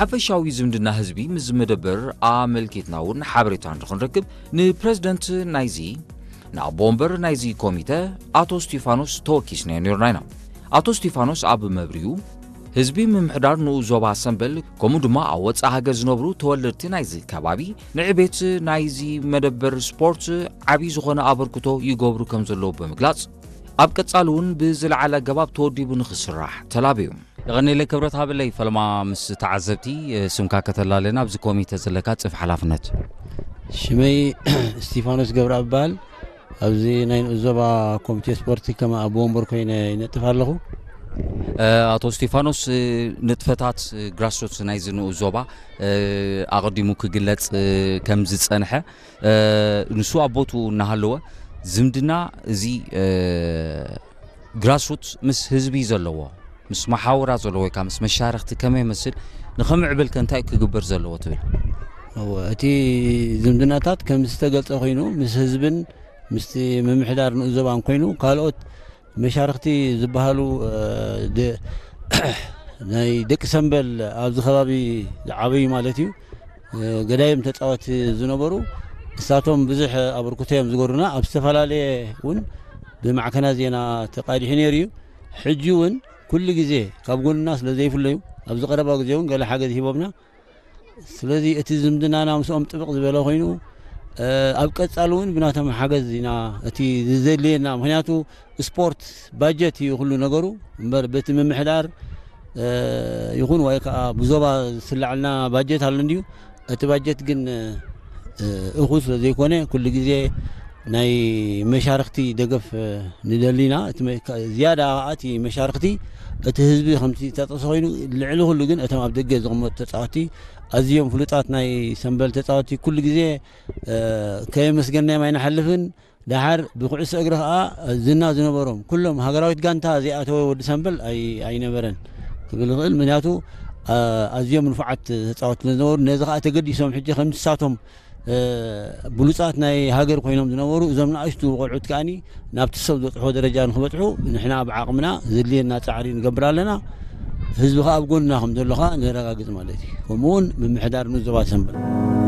ሓፈሻዊ ዝምድና ህዝቢ ምስ መደበር ኣመልኪትና እውን ሓበሬታ እንድኽንረክብ ንፕረዚደንት ናይዚ ንኣቦ ወንበር ናይዚ ኮሚተ ኣቶ እስቲፋኖስ ተወኪስናዮ ነርና ኢና። ኣቶ እስቲፋኖስ ኣብ መብሪኡ ህዝቢ ምምሕዳር ንኡስ ዞባ ሰምበል ከምኡ ድማ ኣብ ወፃኢ ሃገር ዝነብሩ ተወለድቲ ናይዚ ከባቢ ንዕቤት ናይዚ መደበር ስፖርት ዓብዪ ዝኾነ ኣበርክቶ ይገብሩ ከም ዘለዉ ብምግላፅ ኣብ ቀፃሊ እውን ብዝለዓለ ኣገባብ ተወዲቡ ንክስራሕ ተላብዩ። የቐኔለይ ክብረት ሃበለይ ፈለማ ምስ ተዓዘብቲ ስምካ ከተላለና ኣብዚ ኮሚተ ዘለካ ፅፍ ሓላፍነት። ሽመይ እስቲፋኖስ ገብረ ኣባል ኣብዚ ናይ ንኡስ ዞባ ኮሚቴ ስፖርት ከም ኣቦ ወንበር ኮይነ ይነጥፍ ኣለኹ። ኣቶ እስቲፋኖስ ንጥፈታት ግራስሮት ናይዚ ንኡስ ዞባ ኣቐዲሙ ክግለፅ ከም ዝፀንሐ ንሱ ኣብ ቦትኡ እናሃለወ ዝምድና እዚ ግራስሩት ምስ ህዝቢ ዘለዎ ምስ መሓውራ ዘለዎ ወይ ከዓ ምስ መሻርክቲ ከመይ ይመስል ንኸምዕብል ከ እንታይ ክግበር ዘለዎ ትብል? እቲ ዝምድናታት ከም ዝተገልፀ ኮይኑ ምስ ህዝብን ምስቲ ምምሕዳር ንኡስ ዞባን ኮይኑ ካልኦት መሻርክቲ ዝበሃሉ ናይ ደቂ ሰንበል ኣብዚ ከባቢ ዝዓበዩ ማለት እዩ ገዳይም ተፃወቲ ዝነበሩ እሳቶም ብዙሕ ኣበርክቶ እዮም ዝገሩና ኣብ ዝተፈላለየ እውን ብማዕከና ዜና ተቃዲሑ ነይሩ እዩ ሕጂ እውን ኩሉ ግዜ ካብ ጎንና ስለ ዘይፍለዩ ኣብዚ ቀረባ ግዜ እውን ገለ ሓገዝ ሂቦምና ስለዚ እቲ ዝምድናና ምስኦም ጥብቕ ዝበለ ኮይኑ ኣብ ቀፃሊ እውን ብናቶም ሓገዝ ኢና እቲ ዝዘድልየና ምክንያቱ ስፖርት ባጀት እዩ ኩሉ ነገሩ እምበር በቲ ምምሕዳር ይኹን ወይ ከዓ ብዞባ ዝስላዓልና ባጀት ኣሎ እንድዩ እቲ ባጀት ግን እኹል ስለ ዘይኮነ ኩሉ ግዜ ናይ መሻርክቲ ደገፍ ንደሊና ዝያዳ እቲ መሻርክቲ እቲ ህዝቢ ከምቲ ተጠቅሰ ኮይኑ ልዕሊ ኩሉ ግን እቶም ኣብ ደገ ዝቕመጡ ተፃወቲ ኣዝዮም ፍሉጣት ናይ ሰንበል ተፃወቲ ኩሉ ግዜ ከየመስገናዮም ኣይንሓልፍን ደሓር ብኩዕሶ እግሪ ከዓ ዝና ዝነበሮም ኩሎም ሃገራዊት ጋንታ ዘይኣተወ ወዲ ሰንበል ኣይነበረን ክብል ይኽእል ምክንያቱ ኣዝዮም ንፉዓት ተፃወቲ ዝነበሩ ነዚ ከዓ ተገዲሶም ሕጂ ከምሳቶም ብሉፃት ናይ ሃገር ኮይኖም ዝነበሩ እዞም ንኣሽቱ ቆልዑት ከዓኒ ናብቲ ሰብ ዝበፅሖ ደረጃ ንክበፅሑ ንሕና ብዓቕምና ዘድልየና ፃዕሪ ንገብር ኣለና ህዝቢ ከዓ ኣብ ጎንና ከም ዘሎ ከዓ ነረጋግፅ ማለት እዩ ከምኡውን ምምሕዳር ንዞባ ሰንበል